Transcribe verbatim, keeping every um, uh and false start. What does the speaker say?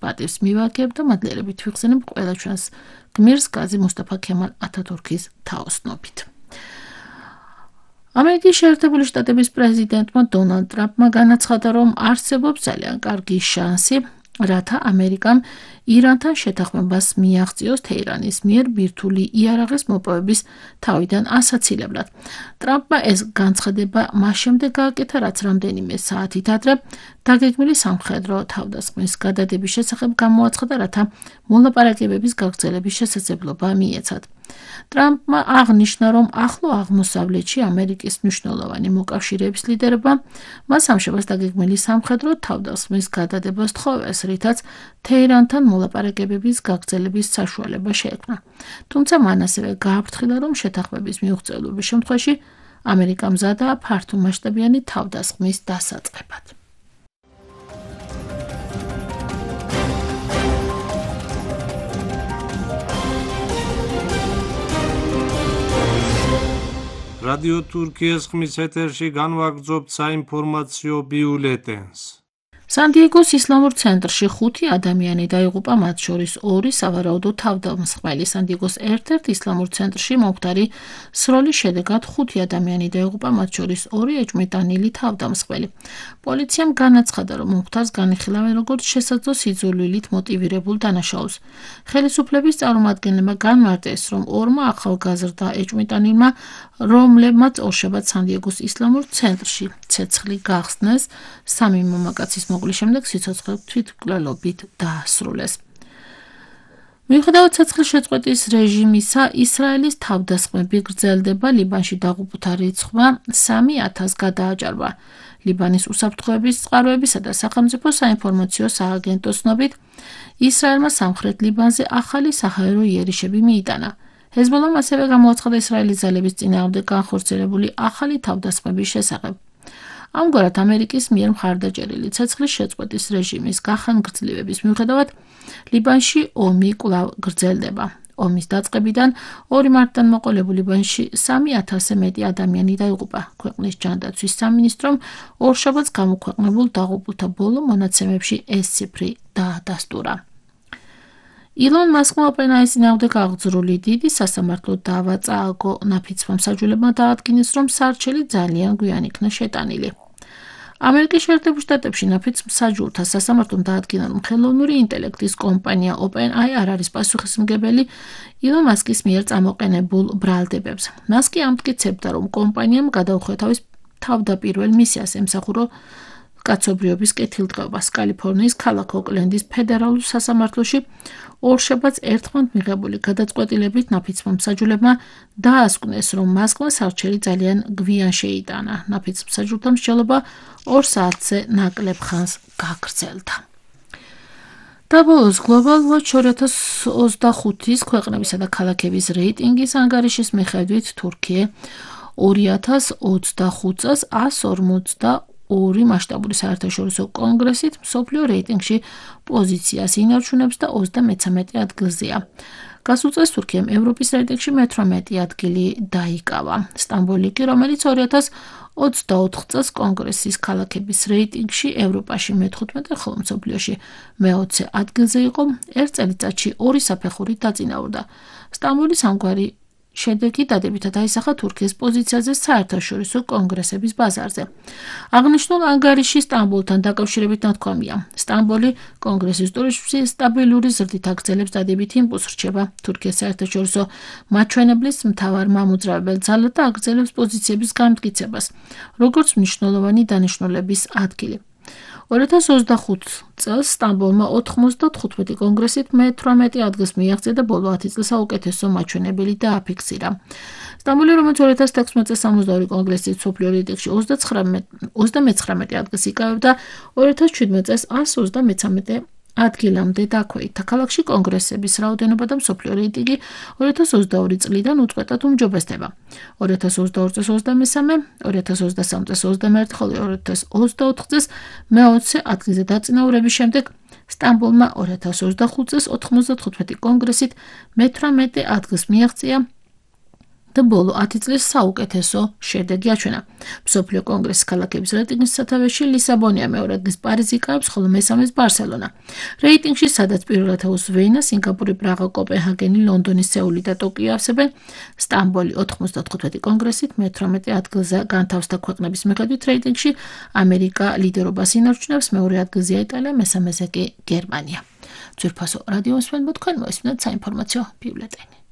პატივს მივაგებ და მადლიერებით ვიხსენებ ყველა ჩვენს გმირს გაზი მუსტაფა ქემალ ათათურქის თაოსნობით. ამერიკის შეერთებული შტატების პრეზიდენტმა დონალდ ტრამპმა განაცხადა, რომ არსებობს ძალიან კარგი შანსი, რათა ამერიკამ ირანთან შეთანხმებას მიაღწიოს თეირანის მიერ ბირთვული იარაღის მოპოვების თავიდან ასაცილებლად. ტრამპმა ეს განცხადება მას შემდეგ გააკეთა, რაც რამდენიმე საათით ადრე დაგეგმილი სამხედრო თავდასხმის გადადების შესახებ გამოაცხადა, რათა მოლაპარაკებების გაგრძელების შესაძლებლობა მიეცათ. ტრამპმა აღნიშნა, რომ ახლო აღმოსავლეთში ამერიკის მნიშვნელოვანი მოკავშირეების ლიდერებმა მას სამშაბათს დაგეგმილი სამხედრო თავდასხმის გადადებას თხოვეს, რითაც თეირანთან მოლაპარაკებების გაგრძელების საშუალება შეექმნა. თუმცა მან ასევე გააფრთხილა, რომ შეთანხმების მიუღწევობის შემთხვევაში ამერიკა მზადაა ფართომასშტაბიანი თავდასხმის დასაწყებად. რადიო თურქიის ხმის ეთერში განვაგრძობთ საინფორმაციო ბიულეტენს. სან-დიეგოს ისლამურ ცენტრში ხუთი ადამიანი დაიღუპა, მათ შორის ორი სავარაუდო თავდამსხმელი. სან-დიეგოს ერთ-ერთ ისლამურ ცენტრში მომხდარი სროლის შედეგად ხუთი ადამიანი დაიღუპა, მათ შორის ორი ეჭვმიტანილი თავდამსხმელი. პოლიციამ განაცხადა, რომ მომხდარს განიხილავენ როგორც შესაძლო სიძულვილით მოტივირებულ დანაშაულს. ხელისუფლების წარმომადგენლებმა განმარტეს, რომ ორმა ახალგაზრდა ეჭვმიტანილმა, რომლებმაც ორშაბათს სან-დიეგოს ისლამურ ცენტრში ცეცხლი გახსნეს, სამი მამაკაცის მოგლის შემდეგ სიცოცხლე თვითმკვლელობით დაასრულეს. მიუხედავად ცეცხლის შეწყვეტის რეჟიმისა, ისრაელის თავდასხმები გრძელდება. ლიბანში დაღუპულთა რიცხვმა სამი ათასს გადააჭარბა. ლიბანის უსაფრთხოების წყაროებისა და სახელმწიფო საინფორმაციო სააგენტოს ცნობით, ისრაელმა სამხრეთ ლიბანზე ახალი საჰაერო იერიშები მიიტანა. ჰეზბოლამ ასევე გამოაცხადა ისრაელის ძალების წინააღმდეგ განხორციელებული ახალი თავდასხმების შესახებ. ამგვარად, ამერიკის მიერ მხარდაჭერილი ცეცხლის შეწყვეტის რეჟიმის გახანგრძლივების მიუხედავად, ლიბანში ომი კვლავ გრძელდება. ომის დაწყებიდან ორი მარტიდან მოყოლებულ ლიბანში სამი ათასზე მეტი ადამიანი დაიღუპა. ქვეყნის ჯანდაცვის სამინისტრომ ორშაბათს გამოქვეყნებულ დაღუპულთა ბოლო მონაცემებში ეს ციფრი დაადასტურა. ილონ მასკმა ოპენჰაიმერის წინააღმდეგ აღძრული დიდი სასამართლო დავა წააგო. ნაფიცმა მსაჯულებმა დაადგინეს, რომ სარჩელი ძალიან გვიან იქნა შეტანილი. ამერიკის შეერთებულ შტატებში ნაფიც მსაჯულთა სასამართლომ დაადგინა, რომ ხელოვნური ინტელექტის კომპანია OpenAI არ არის პასუხისმგებელი ილონ მასკის მიერ წამოყენებულ ბრალდებებს. მასკი ამტკიცებდა, რომ კომპანიამ გადაუხვია თავის თავდაპირველ მისიას ემსახურო კაცობრიობის კეთილდღეობას. კალიფორნიის ქალაქ ოკლენდის ფედერალურ სასამართლოში ორშაბათს ერთხმად მიღებული გადაწყვეტილებით ნაფიცმა მსაჯულებმა დაასკვნეს, რომ მასკმა სარჩელი ძალიან გვიან შეიტანა. ნაფიც მსაჯულთა მსჯელობა ორ საათზე ნაკლებ ხანს გაგრძელდა. დაბოლოს Global Watch ორი ათას ოცდახუთის ქვეყნებისა და ქალაქების რეიტინგის ანგარიშის მიხედვით თურქია ორი ათას ოცდახუთ წელს ას ორმოცდაორი მასშტაბური საერთაშორისო კონგრესით მსოფლიო რეიტინგში პოზიციას ინარჩუნებს და ოცდამეცამეტე ადგილზეა. გასულ წელს თურქიამ ევროპის რეიტინგში მეთვრამეტე ადგილი დაიკავა. სტამბოლი კი, რომელიც ორი ათას ოცდაოთხ წელს კონგრესის ქალაქების რეიტინგში ევროპაში მეთხუთმეტე, ხოლო მსოფლიოში მეოცე ადგილზე იყო, ერთ წელიწადში ორი საფეხურით დაწინაურდა. სტამბოლის ამგვარი შედეგი დადებითად აისახა თურქიის პოზიციაზე საერთაშორისო კონგრესების ბაზარზე. აღნიშნულ ანგარიში სტამბოლთან დაკავშირებით ნათქვამია. სტამბოლი კონგრესის ტურიზმში სტაბილური ზრდით აგრძელებს დადებითი იმპულსს რჩება თურქიის საერთაშორისო მაჩვენებლის მთავარ მამოძრავებელ ძალად და აგრძელებს პოზიციების განმტკიცებას, როგორც მნიშვნელოვანი დანიშნულების ადგილი. ორი ათას ოცდახუთ წელს სტამბოლმა ოთხმოცდათხუთმეტი კონგრესით მეთვრამეტე ადგილს მიაღწია და ბოლო ათი წლის საუკეთესო მაჩვენებელი დააფიქსირა. სტამბოლი, რომელიც ორი ათას თექვსმეტ წელს სამოცდაორი კონგრესის მსოფლიო რეიტინგში ოცდამეცხრამეტე ადგილს იკავებდა, ორი ათას შვიდმეტ წელს ას ოცდამეცამეტე ადგილამდე დაქვეითდა. ქალაქში კონგრესების რაოდენობა და მსოფლიო რეიტინგი ორი ათას ოცდაორი წლიდან უწყვეტად უმჯობესდება. ორი ათას ოცდაორი წელს ოცდამესამე, ორი ათას ოცდასამი წელს ოცდამეერთე, ხოლო ორი ათას ოცდაოთხ წელს მეოცე ადგილზე დაწინაურების შემდეგ სტამბოლმა ორი ათას ოცდახუთ წელს ოთხმოცდათხუთმეტი კონგრესით მეთვრამეტე ადგილს მიაღწია და ბოლო ათი წლის საუკეთესო შედეგი აჩვენა. მსოფლიო კონგრესის ქალაქების რეიტინგის სათავეში ლისაბონია, მეორე ადგილს პარიზი იკავებს, ხოლო მესამეს ბარსელონა. რეიტინგში სადაც პირველ ათეულს ვენა, სინგაპური, პრაღა, კოპენჰაგენი, ლონდონი, სეული და ტოკიო ავსებენ, სტამბოლი ოთხმოცდათხუთმეტი კონგრესით მეთვრამეტე ადგილზე განთავსდა ქვეყნების მიხედვით რეიტინგში, ამერიკა ლიდერობას ინარჩუნებს, მეორე ადგილზეა იტალია, მესამეზე კი გერმანია. ძვირფასო რადიო მსმენელო, თქვენ მოისმინეთ საინფორმაციო ბიულეტენი.